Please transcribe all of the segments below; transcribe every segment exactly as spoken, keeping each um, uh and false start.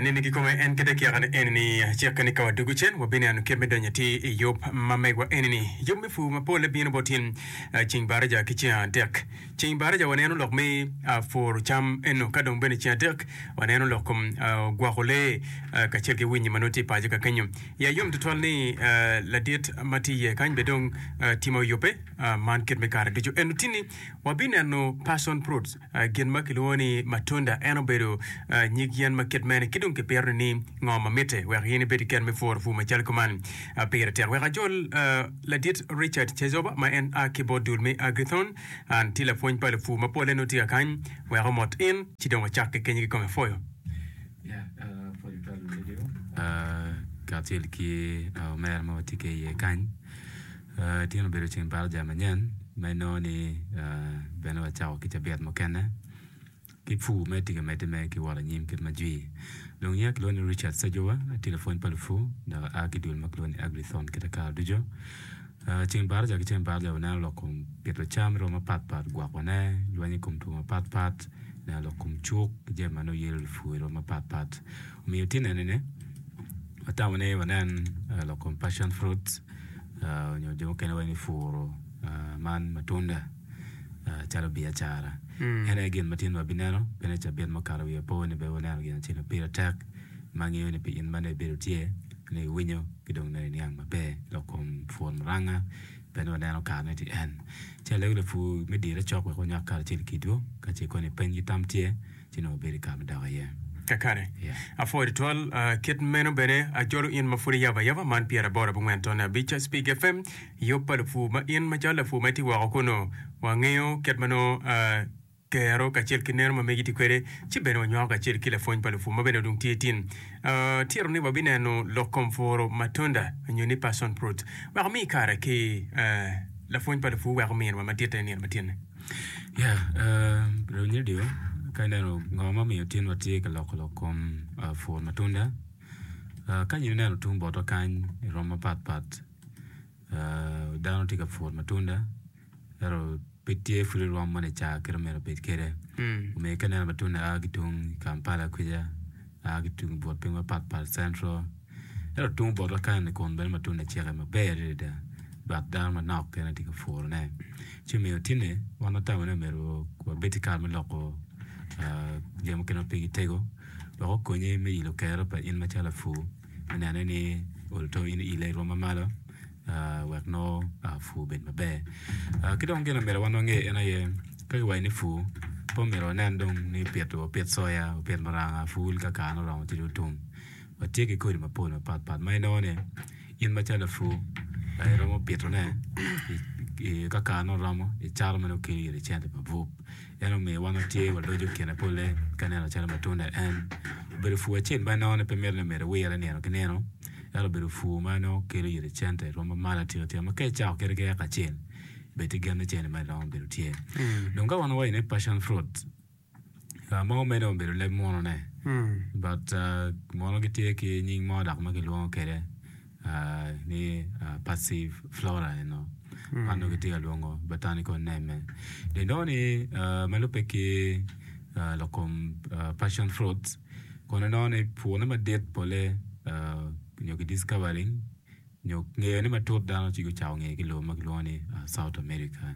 Nini kikome en kite kyeka-ni eni-ni, cikke ni ka wadwogo cen, wabineno kit me donyo atir i yub ma megwa eni-ni. Yub me pur mapolle bino bot in ceng baraja ki ceng adek. Ceng baraja waneno lok me puro cam eno, ka dong bene ceng adek waneno lok kom gwoko lee kacel ki winyi ma nongo tye i paco ka kenyo. Iya yom tutwal ni ladit ma tye iye kany bene dong timo yubbe man kit me kare ducu. Eno tini wabineno passion fruits. Gin ma kilwongo ni matunda en obedo nyig yen ma kit mene ki dong kipito ni ngo ma mitte wek in ibed ki kero me puro pur macalo kuman? Pire tek wek ajol ladit Richard Chezoba ma en a ki bot dul me Agrithon an tye lapwony pa lupur ma pole nongo tye ka kany wek omot in ci dong wacak ki kenyo kikome pwoyo. Kacel ki omera ma watye ki iye kany. Tin obedo ceng baraja manyen ma inongo ni bene wacako ki cabit mukene ki pur mere tye ka medde mere ki wot anyim kit ma jwi. Dong nyinga kilwongo ni Richard Sejowa atye lapwony pa lupur dok aa ki dul ma kilwongo ni Agrithon kit akara ducu. Ceng baraja ki ceng baraja waneno lok kom pito cam i rwom mapat pat, gwokone, lweny i kom two mapat pat, neno lok kom cuk ki jami ma nongo yelo lupur i rwom mapat pat. Omiyo tin enini watamo ni wanen lok kom passion fruits. Nyo jo mukene waco ni puro man matunda calo biacara. En aye gin ma tin wabineno pien cabit mukato wiye po ni bene waneno gin acel ma pire tek ma angeyo ni pi in ma nongo ibedo tye nongo iwinyo ki dong nongo iniang maber lok kom pur muranga bene waneno karene tye en. Ci alego lapur me dire cok wek wanywak karacel kidwu ka ce koni peny ki tam tye. ci nongo obedo i kare me dok iye. Kakare. Apwoyo tutwal. Kit meno bene ajolo in ma pud iyabo ayaba man pyeraboro abongwen tonne abic Spig FM, yub pa lupur ma in macalo lapur ma itye woko kunu wangeyo kit ma nongo kero kacel ki neno ma megi tye kwede ci bene wanywako kacel ki lapwony pa lupur ma bene dong tye tin. Tito ni wabineno lok kom puro matunda nyo ni passion fruit wek omi kare ki lapwony pa lupur wek ominwa maditte i nino ma tinne. Yeah, Rony Radio, ka ineno ngo ma omiyo tin watye ka loko lok kom pur matunda, ka in ineno tung botwa kany i rom mapat pat, dano tye ka puro matunda ento pe tye pud i rwom moni ca kit ma myero obed kwede. Omiyo ka ineno matunda a ki tung Kampala kwica, a ki tung but piny mapat pat Central, Ento tung botwa kany-ni kun bene matunda ceke maber adada dok dano manok kene tye ka purone. Ci omiyo tinni wan watamo ni omyero wabed ki kare me loko jami mukene ma pigi tego wek okonyi me ilo kero pa in macalo lapur me nene ni olo to in iile i rwom ma malo wek nongo pur obed maber. Ki dong gin ma myero wan wange en aye ka kiwaco ni pur pe omyero wanen dong ni pito wapit coya, wapit muranga, pul ka karene oromo ci dong otum. Watye ki kodi mapol mapatpat ma inongo ni in macalo lapur iromo pitone ka karene oromo icato ma nongo kelo iri cente mabup. En omiyo wan watye waloco kine pole ka ineno calo matunda en obedo pur acel ma inongo ni pe mito ni myero iwire nino ki nino ento obedo pur ma nongo kelo iri cente rwom ma malo atika tika ma ka icako kede ki eka acel bed ki gen ni cente ma iromo bedo tye. Dong ka wan wawaco ni passion fruit Mogo meno obedo leb munu-ne but munu gitye ki nying mo dok ma gilwongo kwede ni passive flora eno man dong gitye ka lwongo botanical name-me. Dong inongo ni ma lubbe ki lok kom passion fruits kono inongo ni purne madit pole nyo ki discovering nyo ngeyone matut dano ci gucako ngeye ki lobo ma kilwongo ni South America.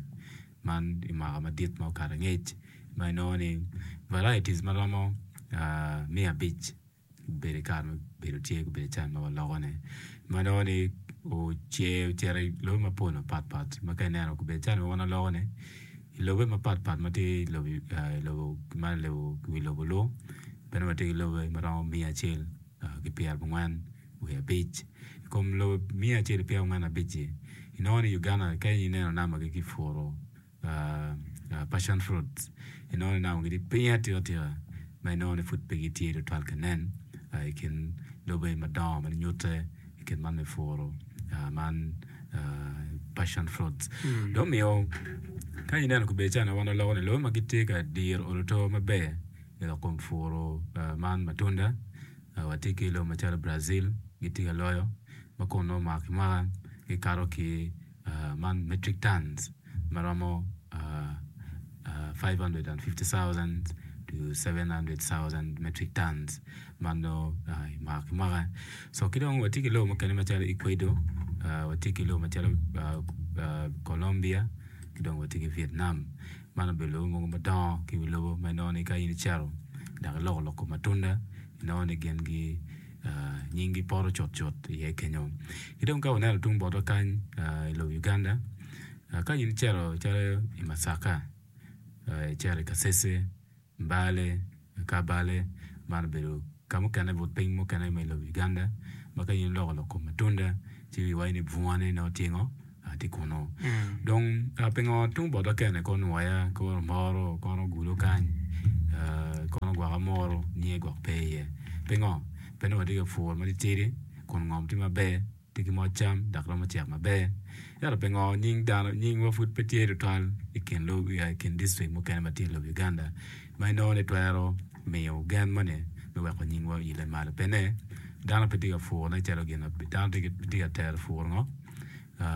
Man i mwaka madit ma okato angec ma inongo ni varieties ma romo miya abic obedo i kare ma obedo tye gubedo can ma waloko ne ma inongo ni ocer ocito i lobe mapol mapat pat ma ka ineno gubedo can ma wan waloko ni i lobe mapat pat ma tye i lobo ma wi lobo lu bene watye ki lobe ma romo miya acel ki pyerabongwen wiye abic. I kom lobo miya acel ki pyerangwen abic-ci, inongo ni Uganda ka ineno nambagi ki puro passion fruits, inongo ni nambagi tye piny atika tika ma inongo ni pud pe gitye tutwal ka nen i kin lobe madongo ma ginyute i kit man me puro man passion fruits. Dong omiyo ka ineno gubedo calo wan waloko ni lobe ma gitye ka diro olo to maber i lok kom puro man matunda Watye ki lobo macalo Brazil gitye ka loyo ma kun nongo mwaka ki mwaka gikato ki man metric tons ma romo five hundred and fifty thousand to seven hundred thousand metric tons man nongo i mwaka ki mwaka. So ki dong watye ki lobo mukene macalo Ecuador, watye ki lobo macalo Colombia ki dong watye ki Vietnam. Man obedo lobo mogo madongo ki i wi lobo ma inongo ni ka in icito dok iloko lok kom matunda inongo ni gin gi nyinggi poto cutcut iye kenyo. Ki dong ka waneno tung botwa kany i lobo Uganda, ka in icito calo i Masaka, icito i Kasese, Mbale, Kabale, man obedo ka mukene but piny mukene ma i lobo Uganda ma ka in iloko lok kom matunda ci iwaco ni bungane nongo tye ngo tye kunu. Dong pingo tung botwa kene kono nwoya kono moro kono gulo kany kono gwoko amuru nyinge gwok pe iye pingo? Pe nongo watye ka puro matitidi kun ngom tye maber tye ki moc cam dok romo cek maber. Ento pingo nying dano nyingwa pud pe tye tutwal i kin lobo i kin distrik mukene ma tye i lobo Uganda ma inongo ni twero miyo gen moni me weko nyingwa oile malo pene dano pe tye ka purone calo gin dano tye ka tero puro ngo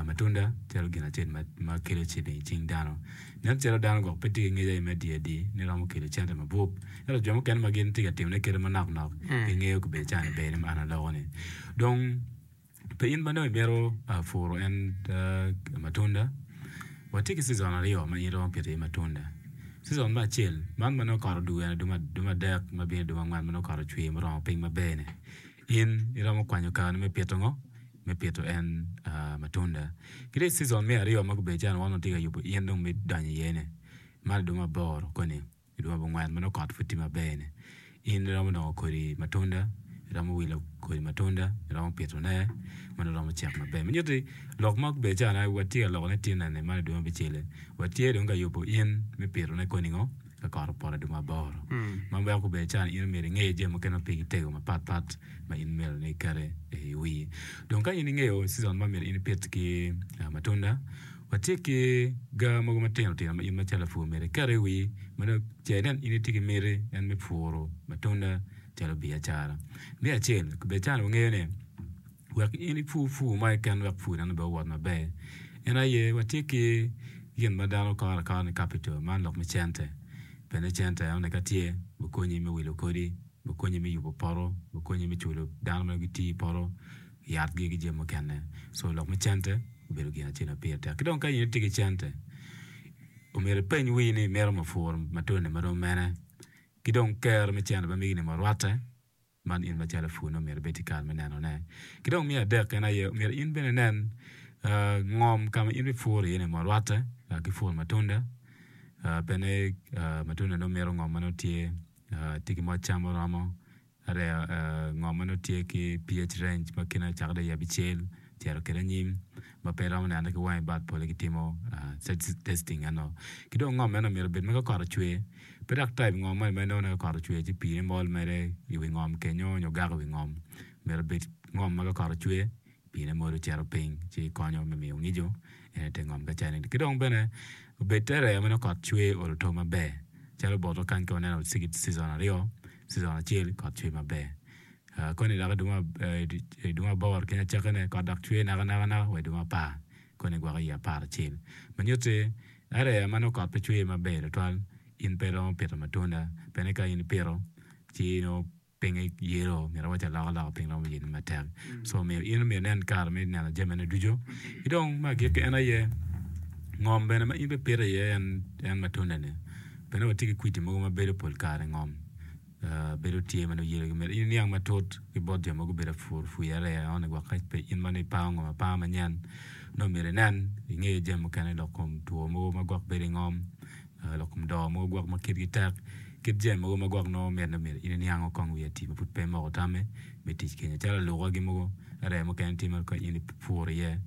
matunda calo gin acel ma kelo ciling i cing dano. Nen calo dano gwok pe tye ki ngec aye me adi adi ni romo kelo cente mabup ento jo mukene ma gin tye ka timone kite manok nok gingeyo kabedo cani ber ni an aloko ni dong pe in ma dong imito puro en matunda watye ki cizon aryo ma in iromo pito iye matunda. Cizon me acel man ma nongo kot odwogo en dwe adek ma bino dwe angwen ma nongo kot ocwer muromo piny maber ni in iromo kwanyo kareni me pito ngo? Me pito en matunda. Ki dong i cizon me aryo ma gubedo calo wan watye ka yubo in dong me donyo iye ni man i dwe me aboro koni i dwe me abongwen ma nongo kot pud tye maber ni in iromo nongo kodi matunda iromo wilo kodi matunda iromo pitone ma nongo romo cek maber. Ma nyutti lok ma gubedo calo watye ka lokone tye nene man i dwe me abicel-li watye dong ka yubo in me pitone koni ngo ka kot opoto i dwe me aboro ma weko gubedo calo in myero inge jami mukene ma pigi tego mapat pat ma in myero ni iketi i wii. Dong ka in ingeyo cizon ma myero in ipit ki matunda, watye ki ga mogo matino tino ma in macalo lapur myero iket i wii ma dong ce inen in itye ki miti en me puro matunda calo biacara. Me acel, bed calo wangeyo ni wek in ipur pur mo keken wek pur eno bene owot maber en aye watye ki gin ma dano koro akora ni capital man lok me cente bene cente enoni ka tye bikonyi me wilo kodi bikonyi me yubo poto bikonyi me culo dano ma gitiyo i poto yatgi ki jami mukene so lok me cente obedo gin acel ma pire tek ki dong ka in itye ki cente omyero ipeny wii ni imito mapur matunda marom mene ki dong kero me cente ma megi-ni orwatte man in macalo lapur nongo myero ibed ki kare me nenone. Ki dong me adek en aye myero in bene inen ngom ka ma in ibipuro iye ni ma orwatte ki puro matunda bene matunda nongo mito ngom ma nongo tye tye ki moc cam muromo ngom ma nongo tye ki PH range ma kine ocako dong i abicel cito kwede anyim ma pe iromo nenone ki wangi but pole kitimo testing eno. Ki dong ngom meno myero obed ma ka kot ocwer pe dok type ngom moni ma inongo ni ka kot ocwer ci piine mol mere i wi ngom kenyo nyo gako i wi ngom myero obed ngom ma ka kot ocwer piine molo cito piny ci konyo me miyo ngico en ite ngom ka cani. Ki dong bene obed te rea ma nongo kot cwer olo to maber calo botwa kany ka waneno season aryo season acel kot cwer maber. Koni dok i dwe me aboro keny acakkine kot dok cwer nakanaka naka wa i dwe me apar koni gwoko i apar acel. Ma nyutti area ma nongo kot pe cwer maber tutwal in pe iromo pito matunda pien ni ka in ipito ci nongo pinye yelo myero awac alokaloka piny romo yelo matek. So omiyo in myero inen kare me neno jamine ducu. Ki dong me agikki en aye ngom bene ma in bipito iye en matunda-ni bene watye ki kwidi mogo ma bedo pol kare i ngom. Bedo tye ma nongo yelogi myero in iniang matut ki bot jo ma gubedo apur pur areya eno ni gwok ka pe in ma nongo ipango ngom apanga manyen nongo myero inen inge jami mukene lok kom two mogo ma gwok bedo i ngom lok kom doo mogo gwok ma kitgi tek kit jami mogo ma gwok nongo mitte myero in iniango kong wiye ati ma pud pe imoko tamme me tic kenyo calo alukagi mogo areya mukene tye ma ka in ipuro iye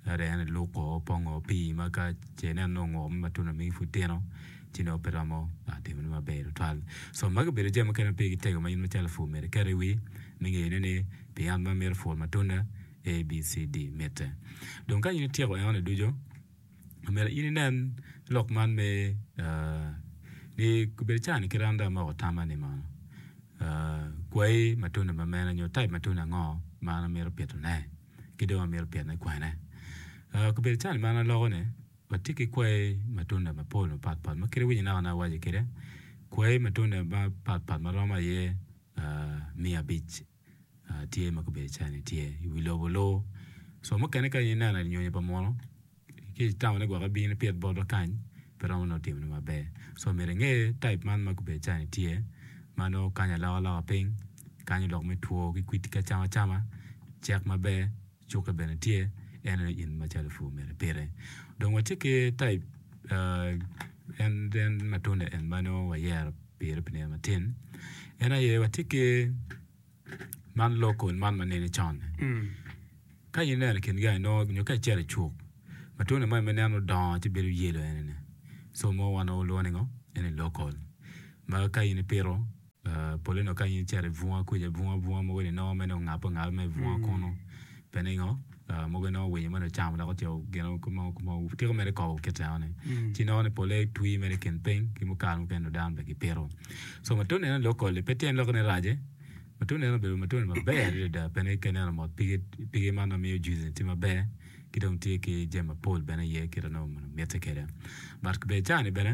areya ni iluko pongo pii ma ka ce ineno nongo onguko me matunda megi pud tino ci nongo pe romo timone maber tutwal. So magi obedo jami mukene ma pigi tego ma in macalo lapur myero iket i wi me ngeyone ni pi an ma amito puro matunda A, B, C, D mitte. Dong ka in ityeko enoni ducu, myero in inen lok man me ni obedo cani kit an dong amoko tamma ni mono kwayi matunda ma mene nyo type matunda ango ma an amito pitone ki dong amito pitone kwene. Obedo cani ma an aloko ni watye ki kwayi matunda mapol mapatpat ma kit iwinyo naka awaco kwede Kwayi matunda mapatpat ma romo aye miya abic tye ma gubedo cani tye i wi lobo luu co mukene ka in ineno nyonyo pa munu ci itamo ni gwok ibino ipit botwa kany pe romo nongo timone maber co myero inge type man ma gubedo cani tye ma nongo kanyo alokaloka piny kanyo lok me two ki kwidi ki acama cama cek maber cukke bene tye en aye in macalo pur myero ipite dong watye ki type en matunda en ma nongo wayero pire pi nino matin en aye watye ki man local man ma nene con ka in ineno i kin gang nongo nyo ka icito i cuk matunda moni ma ineno odongo ci bedo yelo enini co mo wan walwongo ni ngo eni local ma ka in ipito pole nongo ka in icito i bunga kuca bunga bunga mogo ni inongo mere ongape ongape mere i bunga kunu pe ningo mogo inongo winyo moni ocamo dok ocito gin tiko mere kobo kit enoni ci inongo ni pole twi mere i kin piny ki kare mukene nongo dano bene gipito co matunda eni local-li pe tyen lok ni rac matunda eni obedo matunda maber adada pien ka ineno mot pige man ma miyo juice ni tye maber ki dong tye ki jami mapol bene iye kit ma nongo mitte kwede but bene cani bene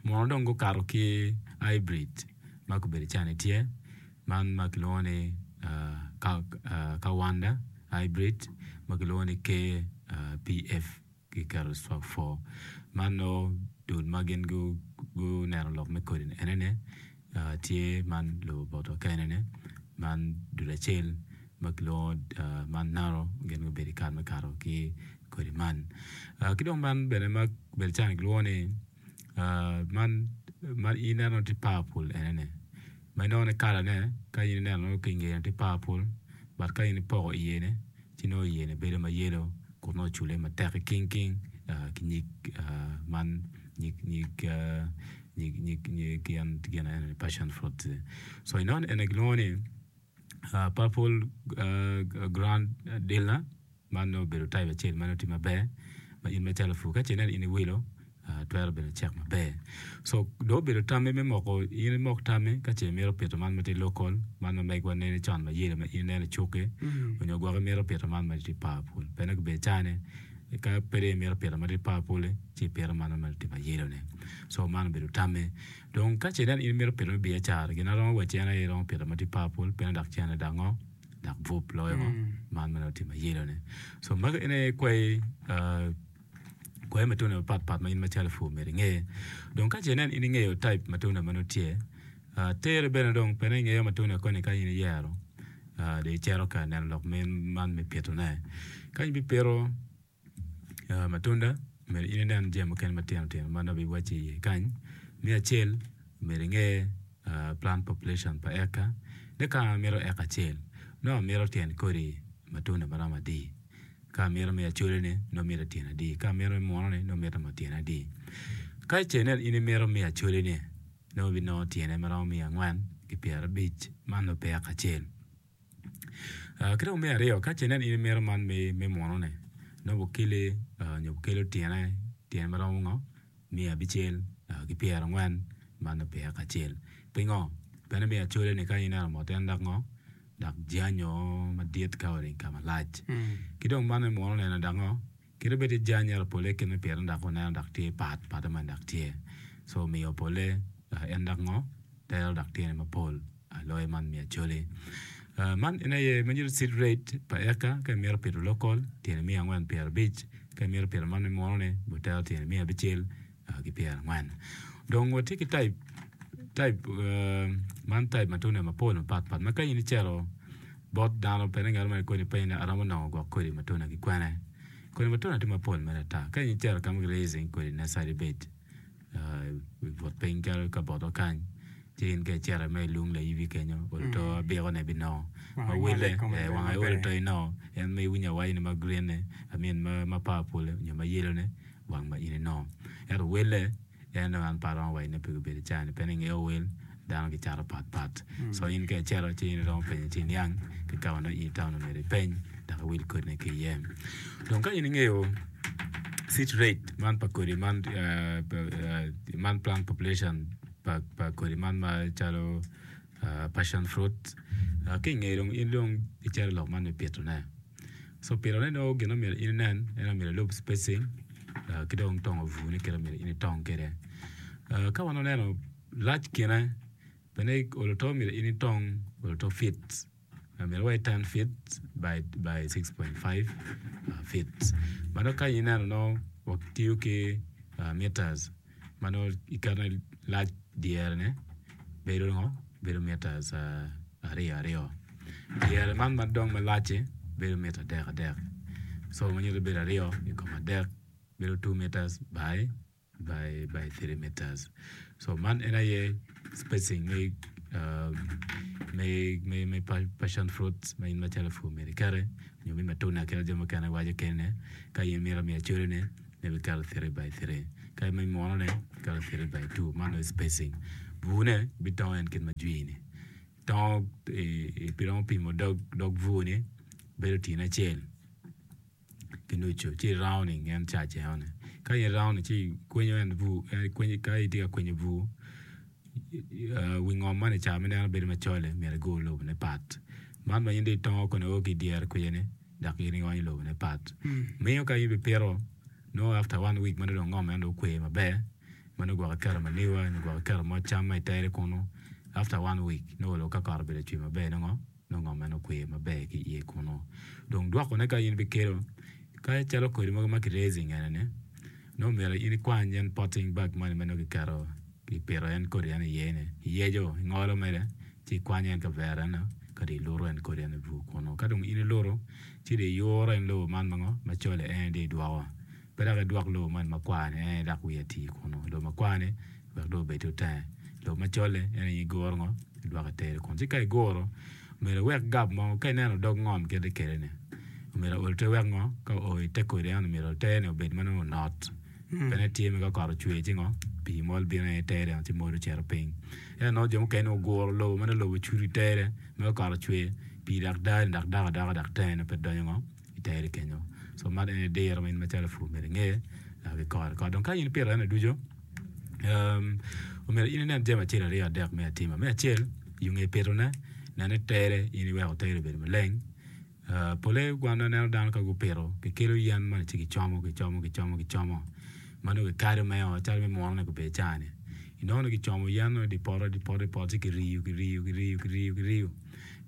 muno dong gukato ki hybrid ma gubedo cani tye man ma kilwongo ni Kawanda hybrid ma kilwongo ni K P F kiketo four man nongo dul ma gin guneno lok me kodi enene tye man lobo botwa kenene man dul acel ma kilwongo man naro gin gubedo i kare me kato ki kodi man ki dong man bene ma obedo cani kilwongo ni man ma ineno tye purple enene ma inongo ni kalane ka in ineno ki ingeye tye purple but ka in ipoko iyene ci nongo iyene bedo ma yellow kun nongo ocule matek king king ki nyig man nyig nyig nyig gin enoni passion fruit so inongo ni eni kilwongo ni purple grand dealer man nongo obedo type acel ma nongo tye maber ma in macalo pur ka ce ineno in iwilo twero bedo cek maber so dong obedo tammi me moko in imok tammi ka ce imito pito man ma tye local man ma megwa nene con ma yelo ma in ineno i cukki onyo gwok imito pito man ma tye purple pien gubedo cani ka pe dong imito pito ma tye purple ci ipito man ma tye ma yelo ni so man obedo tammi dong ka ce ineno in imito pito me biacara gin aromo wacci en aye iromo pito ma tye purple pien dok cene dok ngo dok bup loyo man ma nongo tye ma yelo ni so magi en aye kwayi kwayi matunda mapatpat ma in macalo pur myero inge dong ka ce inen in ingeyo type matunda ma nongo tye tere bene dong pien ingeyo matunda koni ka in iyero dong icito ka neno lok man me pitone ka in ibipito matunda myero in inen jami mukene matino tino ma nongo abiwacci iye kany me acel myero inge plant population pa eka ni ka amito eka acel nongo amito tyen kodi matunda maromo adi ka amito me acoli-ni nongo mito tyene adi ka amito me muno-ni nongo mito tyene adi ka ce inen in imito me acoli-ni nongo ibinongo tyene maromo miya angwen ki pyerabic man nongo pe eka acel ki dong me aryo ka ce inen in imito man me muno-ni nongo bukeli nyo bukelo tyene tyene maromo ngo miya abicel ki pyerangwen man nongo pe eka acel pingo pien me acoli-ni ka ineno mot en dok ngo dok janyo madit ka oringo ka malac ki dong man me muno neno dok ngo kadi bed tye jany ento pole kit me pitone dok waneno dok tye pat pate man dok tye so omiyo pole en dok ngo tero dok tyene mapol loyo man me acoli man en aye ma nyuto seed rate pa eka ka imito pito local tyene miya angwen pyerabic ka imito pito man me muno-ni butero tyene miya abicel ki pyerangwen dong watye ki type type man type matunda mapol mapatpat ma ka in icito bot dano pien ngat mo koni penyo ni aromo nongo gwok kodi matunda ki kwene kodi matunda tye mapol mere ata ka in icito ka ma ki raising kodi nursery bed i but piny calo ka botwa kany ci in ka icito me ilung laibi kenyo olo to abikone binongo ma wele wang aye olo to inongo en ma iwinyo awaco ni ma green ni I mean ma purple nyo ma yellow ni wang ma in inongo ento wele en dong an pe aromo waco ni pe gubedo cani pien ingeyo wel dano gicato patpat so in ka icito ci in iromo penyo ci iniang ki ka ma nongo in itamo ni myero ipeny dok iwil kodine ki iye dong ka in ingeyo seed rate man pa kodi man man plant population pa kodi man macalo passion fruit ki ingeyo dong in dong icito i lok man me pitone so pitone nongo gin ma myero in inen en myero ilub spacing ki dong tongo bur ni kit ma myero in itong kwede ka wan waneno Lac kine bene olo to myero in itong olo to feet myero wa i ten feet by by six point five feet ma nongo ka ineno nongo watiyo ki meters ma nongo iketo ni lac dyere ne bedo ngo bedo meters aryo aryo dyere man ma dong malac-ci bedo mita adek adek so ma nyuto ni bedo aryo i kom adek bedo two meters by by by three meters so man en aye spacing me me me me passion fruit ma in macalo pur myero iketi nyo me matunda kit ma jo mukene waco kene ka in imito miyo acolone myero iketo three by three ka me munone iketo three by two man aye spacing bur-ne bitongo en kit ma jwi-ni tongo iromo pimo dog dog bur-ni bedo tyene acel. Ki nucu ci i-rounding en cac enoni ka in i-rounding ci ikwenyo en bur ka itye ka kwenyo bur wi ngom man i ca ma ineno bedo macol-li myero igur lobone pat man ma in dong itongo koni o ki idyere kwija-ni dok in ionyo lobone pat miyo ka in ibipito nongo after one week ma nongo dong ngom eno dong okwe maber ma nongo gwok iketo manure nyo gwok iketo moc cam ma itere kunu after one week nongo ka kot obedo cwer maber nongo nongo ngom meno okwe maber ki iye kunu. Dong dwokone ka in ibikelo ka calo kodi mogo ma ki raising ene-ni nongo myero in ikwany en potting bag moni ma nongo kiketo kipito en kodi eno iye-ni iyeco ingolo mere ci ikwanyo en kavera eno ka dong iluto en kodi eno i bur kunu. Ka dong in iluto ci dong iyuro en lobo man ma ngo macol-li en dong idwoko pe dok idwok lobo moni makwar-ni en dok wiye tii kunu lobo makwar-ni wek dong obed otenge lobo macol-li en aye iguro ngo idwoko itere kun ci ka iguro myero iwek gap mo ka ineno dog ngom kit kwede ni myero ool te wek ngo ka oo ite kodi eno myero tere obed ma nongo onot bene tye ma ka kot ocwer ci ngo pii mol bino aye itere ci mol ocito piny ento nongo jo mukene oguro lobo ma nongo lobo ocudo itere ma ka kot ocwer pii dok dani dok dok adoka dok tenge pe donyo ngo itere kenyo so man ene diro ma in macalo lapur myero inge ki kore kore dong ka in ipito eno ducu omyero in inen jami acel aryo adek me atima me acel yo nge pitone nen ni tere in iweko tere obedo maleng pole wan waneno dano ka gupito gikelo yen moni ci gicomo gicomo gicomo gicomo ma nongo gikado meo calo me muno-ni gubedo caa-ni inongo ni gicomo yen-nu di poto di poto di poto ci kiriyo kiriyo kiriyo kiriyo kiriyo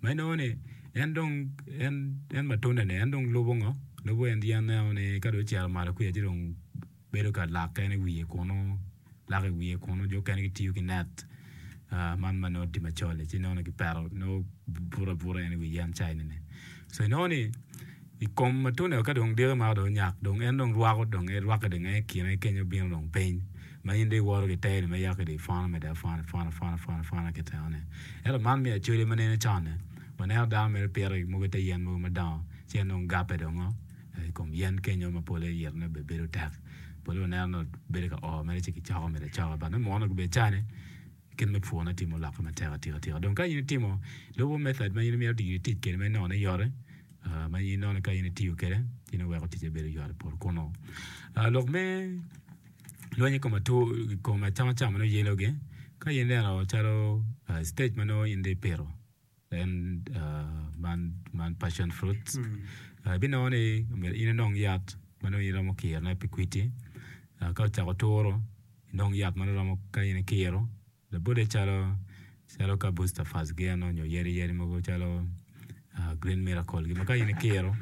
ma inongo ni en dong en en matunda-ni en dong lubo ngo lubo en yen eno-ni ka dong ocito malo kwica ci dong bedo ka lak kene i wiye kunu lak i wiye kunu jo okene gitiyo ki net man ma nongo tye macol-li ci inongo ni gipeto nongo buto abuta en i wi yen ca eni so inongo ni i kom matunda ka dong diki mako dong onyak dong en dong rwako dong rwakke dong en i kine kenyo bino dong piny ma in dong iwoto ki teri ma yako dong ipwono mede apwona ipwono ipwono ipwono ipwona ki tengone ento man me acholi ma nene con-ni waneno dano mere pito mogo i te yen mogo madongo ci en dong gape dong i kom yen kenyo ma pole yitone bene bedo tek pole waneno nongo bedo ka o mere ci kicoko mere acoka but me muno gubedo cani kit me pwone tye mulokke matek atika tika dong ka in itimo lubo method ma in imito tic kwede ma inongo ni yot ma in inongo ni ka in itiyo kwede ci nongo weko ticce bedo yot i poto kunu. Lok me lweny i kom atur i kom acamacam ma nongo yelogi ka in ineno calo stage ma nongo in dong ipito en man man passion fruit ibinongo ni myero in inong yat ma nongo in iromo kirone pi kwidi ka ocako turo inong yat ma nongo romo ka in ikiro labole calo calo ka booster fast gi eno nyo yadi yadi mogo calo green miracle gi ma ka in ikiro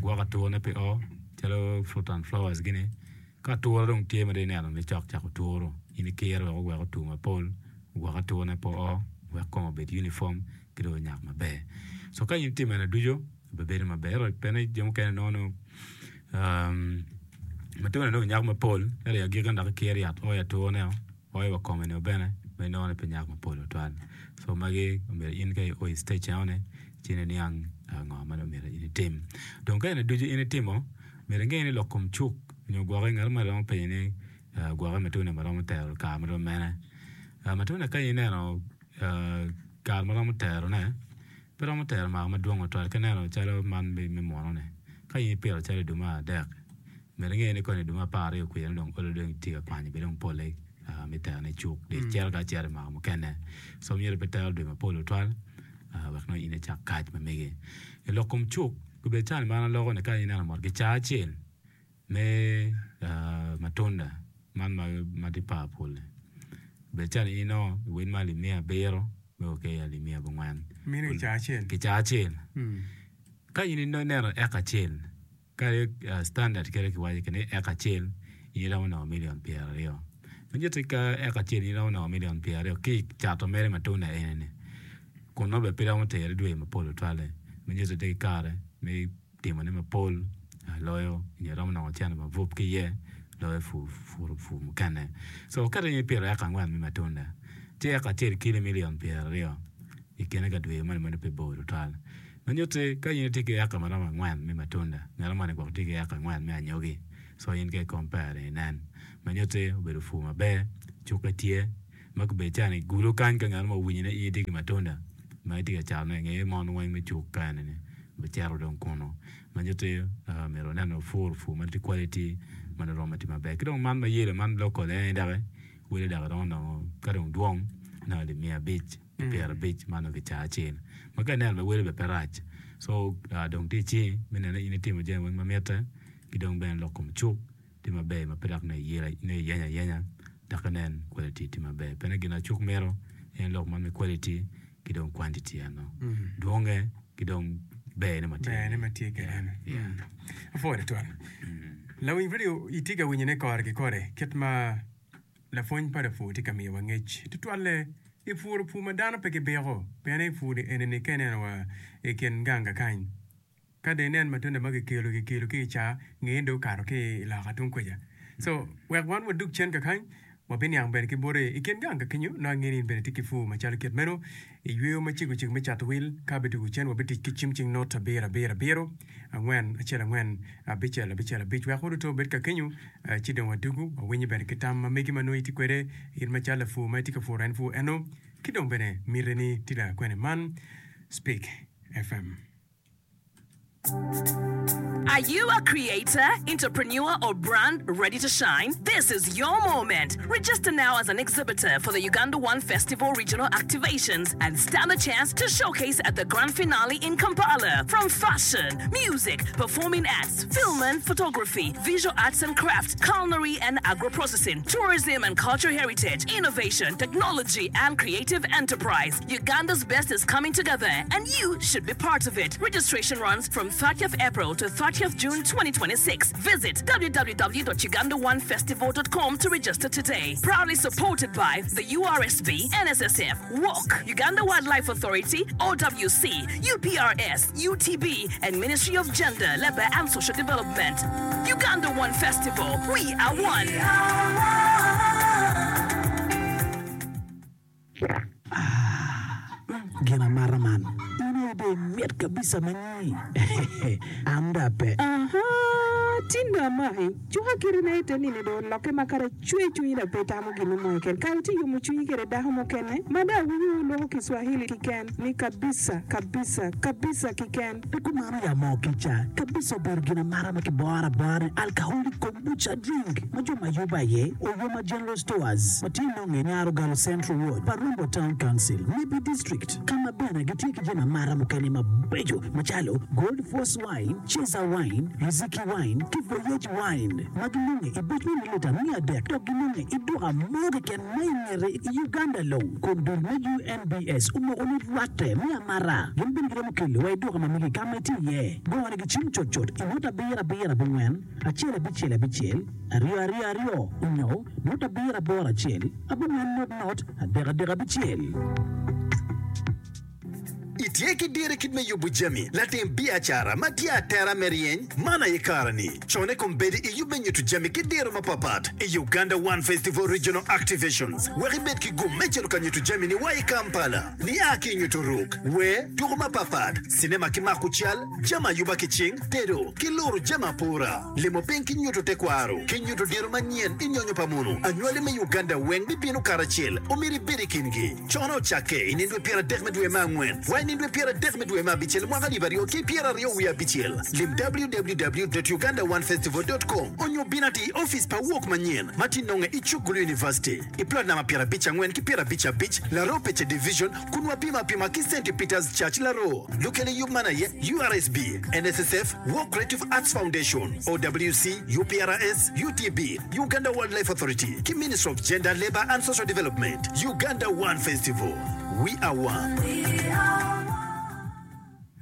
gwoko aturane pe o calo fruit and flowers gini ka ature dong tye ma dong ineno ni cok cako turo in ikiro wek owek otur mapol ogwok aturane pe o wek kome obed uniform ki dong onyak maber so ka in itimo eni ducu obibedo maber ento bene jo mukene nongo ni matunda dong onyak mapol ento i agikki dok ikiro yat oyo aturane oyo wa kome nio bene ma inongo ni pe nyak mapol tutwal so magi omyero in ka io i stage enoni ci in iniang ngo ma dong myero in itim dong ka eni ducu in itimo myero inge ni lok kom cuk nyo gwoki ngat mo romo penyo ni gwoki matunda maromo tero kare marom mene matunda ka ineno kare maromo terone pe romo tero mwaka madwong tutwal ka ineno calo man me muno-ni ka in ipito calo i dwe me adek myero inge ni koni i dwe me apar aryo kwija dong olo dong itye ka kwanyo bene dong pole me terone i cuk dong icito ka acita i mwaka mukene so myero pe tero dwe mapol tutwal wek nongo in icak kac ma megi i lok kom cuk obedo cani ma an aloko ni ka ineno mot kicaa acel me matunda man ma tye powerful-li Bed calo in inongo i wel ma alip miya abiro me o ki alip miya abongwen. Meno kicaa acel. Kicaa acel. Ka in ineno eka acel, ka standard kite kiwaco kwede ni eka acel in iromo nongo million pyeraryo. Ma nyutti ka eka acel in iromo nongo million pyeraryo ki i cato mere matunda eni-ni, kun nongo bene pe romo tere dwe mapol tutwalle. Ma nyutti tye ki kare me timone mapol loyo nyo iromo nongo cente mabup ki iye loyo pur pur mukene. So ka in ipito eka angwen me matunda, ci eka acel kelo million pyeraryo i kine ka dwe moni ma nongo pe bor tutwal. Ma nyutti ka in itye ki eka ma romo angwen me matunda, ngat moni gwok tye ki eka angwen me anyogi. So in ka i compare inen. Ma nyutti obedo pur maber, cukke tye, ma gubedo calo i gulu kany ka ngat mo owinyo ni in itye ki matunda ma itye ka catone nge mon weng me cuk ka eni-ni bicito dong kunu. Ma nyutti myero wanen ni wapur pur ma tye quality ma nongo romo tye maber. Ki dong man ma yelo man local en aye doki wele dok iromo nongo ka dong dwong nongo alip miya abic ki pyerabic man nongo kicaa acel. Ma ka ineno bene wele bene pe rac so dong tye icingi me neno ni in itimo jami weng ma mitte ki dong bene lok kom cuk tye maber ma pe dok nongo iyenyo ayenya dok inen quality tye maber. Pien gin ma cuk mito en lok man me quality ki dong quantity eno dwonge ki dong berne ma tye Berne ma tye kwede eno. Apwoyo tutwal. Lawiny radio itye ka winyone kore ki kore kit ma lapwony pa lapur tye ka miyowa ngec tutwalle i puro pur ma dano pe gibiko pien i pur ni eni-ni ka ineno wa i kin gang kakany ka dong inen matunda ma kikelo kikelo ki i caa nge dong okato ki i loka tung kuca so wek wan wadug cen kakany wabiniang bene ki bote i kin gang kakenyo nongo ange ni in bene itye ki pur macalo kit meno i yweyo macego cego me cato wil ka bidwogo cen wabitic ki cim cing not abiro abiro abiro angwen acel angwen abicel abicel abic wek waduto obed kakenyo ci dong wadugu wawinyo bene ki tam ma megi ma nongo itye kwede in macalo lapur ma itye ka puro en pur eno ki dong bene mitini tye lakwene man Speak F M. Are you a creator, entrepreneur, or brand ready to shine? This is your moment. Register now as an exhibitor for the Uganda One Festival regional activations and stand a chance to showcase at the grand finale in Kampala. From fashion, music, performing arts, film and photography, visual arts and craft, culinary and agro-processing, tourism and cultural heritage, innovation, technology, and creative enterprise. Uganda's best is coming together, and you should be part of it. Registration runs from thirtieth April to thirtieth June twenty twenty-six. Visit w w w dot uganda one festival dot com to register today. Proudly supported by the U R S B, N S S F, W O C, Uganda Wildlife Authority, O W C, U P R S, U T B, and Ministry of Gender, Labour and Social Development. Uganda One Festival, we are one. Ah, gin amata man. In aye dong imit kabisa ma nyi. An dong ape. Aha, tin dong amaki. Cuka kiti na ite nini dong olokke ma kadi acwe cwinyi dong pe itamo gin mo keken. Kare tye yomo cwinyi kede dako mukene ma dong awinyo wuloko Kiswahili kiken ni kabisa, kabisa, kabisa kiken. Pe kumano ya moo kica. Kabisa obedo gin amata ma kiboro abora ni alcoholic kombucha drink ma jo ma yubo aye Oyoma General Stores ma tye nonge i Nyarogalo Central Ward, Parumbo Town Council, Nebbi District, ka ma bene gitye ki jami amata mukene mabeco macalo Gold Force Wine, Cesar Wine, Riziki Wine ki Voyage Wine ma ginonge i buc me mililita miya adek dok ginonge i duka mo keken ma i ngete i Uganda long kun dul me U N B S omoko ni rwatte me amata gin bene giromo kelo wa i duka ma megi ka ma itye iye. Gone ki cim cutcut i not abiro abiro abongwen acel abicel abicel aryo aryo aryo onyo not abiro aboro acel abongwen not not adek adek abicel. Itye ki diro i kit me yubo jami, latim biacara ma tye atera me ryeny? Man aye kare-ni. Cone kombeddi i yub me nyuto jami ki diro mapapat i Uganda One Festival Regional Activations wek ibed ki gum me cito ka nyuto jamini wa i Kampala. Nia ki i nyuto ruk, wer, tuko mapapat, cinema ki mako cal, jami ayuba ki cing, tedo, ki luro jami apura, limo piny ki nyuto tekwaro, ki nyuto diro manyen i nyonyo pa munu. Anywali me Uganda weng bibino karacel, omyero ibed i kingi. Cone ocakke i nindwe pyeradek me dwe me angwen wa i nindwe dwe pyero adek me dwe me abicel mwaka alip aryo ki pyero aryo wiye abicel. Lim W W W dot uganda one festival dot com onyo bin ati i ofice pa Wok manyen ma tye nonge i Chukgulu University i plot namba pyero abic angwen ki pyero abic abic Laroo Pece Division kun wapimo apima ki Saint Peter's Church Laroo. Lukelo yub man aye U R S B, N S S F, Wok Creative Arts Foundation, O W C, U P R S, U T B, Uganda Wildlife Authority ki Ministry of Gender, Labor and Social Development. Uganda One Festival. We are one.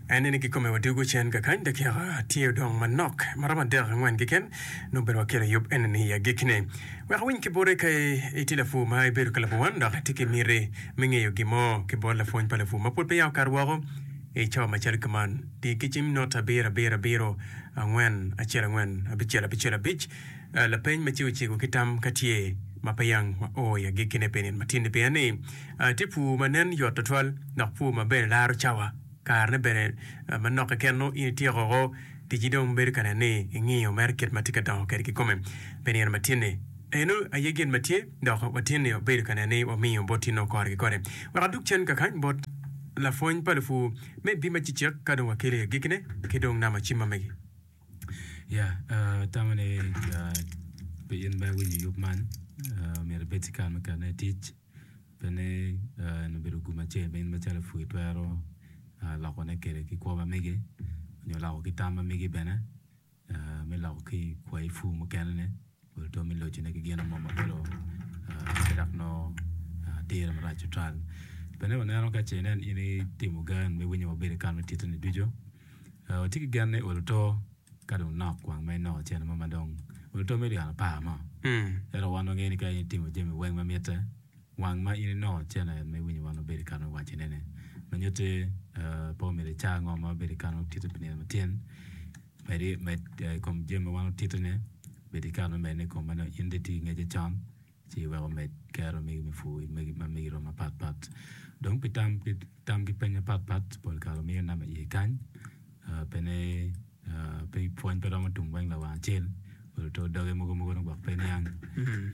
En ni kikome wadugo cen kakany dakika tye odong manok maromo adek angwen keken nongo bene wakelo yub enini i agikkine. Wek awiny ki bote ka itye lapur ma ibedo ka labo wan dok itye ki miti me ngeyo gin mo ki bot lapwony pa lapur ma pud peya okato woko i cawa macalo kuman. Di ki cim not abiro abiro abiro angwen acel angwen abicel abicel abic lapeny ma cego cego ki tam ka tye ma pe yang wa o i agikkine pi nino matin-ni pien ni tye pur ma nen yot tutwal dok pur ma bene laro cawa karene bene manok keken nongo in ityeko oko ticci dong bedo ka neno ni ingiyo mere kit ma tye ka dongo kwede kikome pi nino matin-ni. Eno aye gin ma tye dok watin-ni wabedo ka neno ni wamiyo bot tin-nu kore ki kore. Wek adug cen kakany bot lapwony pa lupur me bim acecek ka dong wakelo i agikkine ki dong namba cim ma megi. Ya, atamo ni pi in ma iwinyo yub man, myero ibed ki kare me ketone i tic pien en obedo gum acel ma in macalo lapur itwero lokone kwede ki kwo ma megi nyo loko ki tam ma megi bene me loko ki kwayi pur mukene-ni oto me locone ki gin mo ma olo pe dok nongo dire marac tutwal. Bene waneno ka ce inen in itimo gen me winyo wabedo i kare me titone ducu, watye ki gen ni olo to ka dong nok wang ma inongo cene mo ma dong olo to million apar mo. Ento wan wangeyo ni ka in itimo jami weng ma mitte, wang ma in inongo cene me winyo wan wabedo i kare me wacone-ni. Ma nyutti pe omyero ica ngo ma wabedo i kare me tito pi nino matin, medi med i kom jami ma wan watitone, bed i kare me medone i kom ma nongo in dong itye ki ngecce con ci iweko med kero megi me pur ma megi romo mapatpat. Dong pi tam ki peny mapatpat pol kare wamiyo namba iye kany pene pe pwony pe romo tum weng lawang acel olo to doge mogo mogo nongo gwok pe niang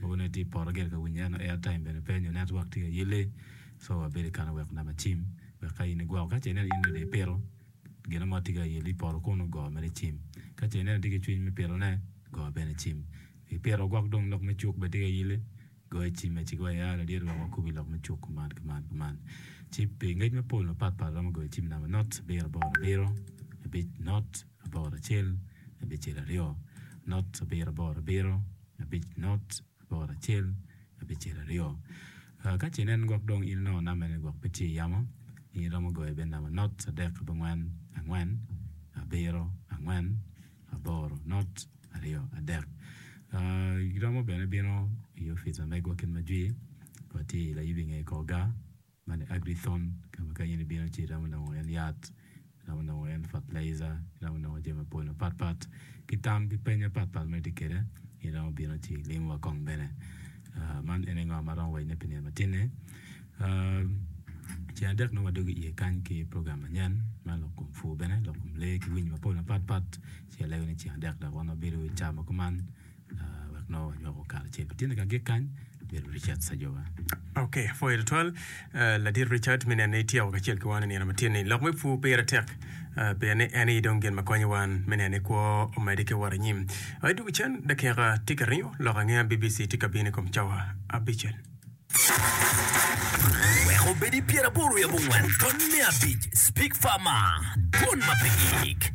mogo nongo itye i poto gire ka winyo ento airtime bene pe nyo network tye ka yelle so wabedo i kare me weko namba cim wek ka in igwoko ka ce ineno in dong ipito gin mo tye ka yelli i poto kunu go mere cim ka ce ineno itye ki cwiny me pitone go bene cim ipito gwok dong lok me cuk bene tye ka yelli go icime ci go ya ladit wek wakubi lok me cuk kuman kuman kuman ci pi ngec mapol mapatpat romo goyo cim namba not abiro aboro abiro abic not aboro acel abicel aryo not abiro aboro abiro abic not aboro acel abicel aryo. Ka ce inen gwok dong in inongo nambane gwok pe tye i yamo in iromo goyo bene namba not adek abongwen angwen abiro angwen aboro not aryo adek. Iromo bene bino i opic ma megwa kit ma jwi watye i layub inge kor gar man Agrithon ka ma ka in ibino ci iromo nongo en yat iromo nongo en fertilizer iromo nongo jami mapol mapatpat ki tam ki peny mapatpat ma itye kwede iromo bino ci ilimowa kong bene. Man ene ngo ma aromo wacone pi nino matin-ni. Ceng adek nongo wadwogo iye kany ki program manyen ma lok kom pur bene lok kom lee ki winyo mapol mapatpat ci alego ni ceng adek dok wan wabedo i cawa ma kuman wek nongo wanywako kare acel. Tye ka gik kany bedo Richard Sajowa. Ok, apwoyo tutwal ladit Richard me neno ni ityeko kacel ki wan i nino matin-ni. Lok me pur pire tek pien ni en aye dong gin ma konyo wan me neno ni kwo omedde ki wot anyim. Idwogo cen dakika tye ka ringo lok angeya B B C tye ka bino i kom cawa abicel. Wek obed i pyeraboro wiye abongwen tony me abic Speak Farmer, dwon ma pe gik.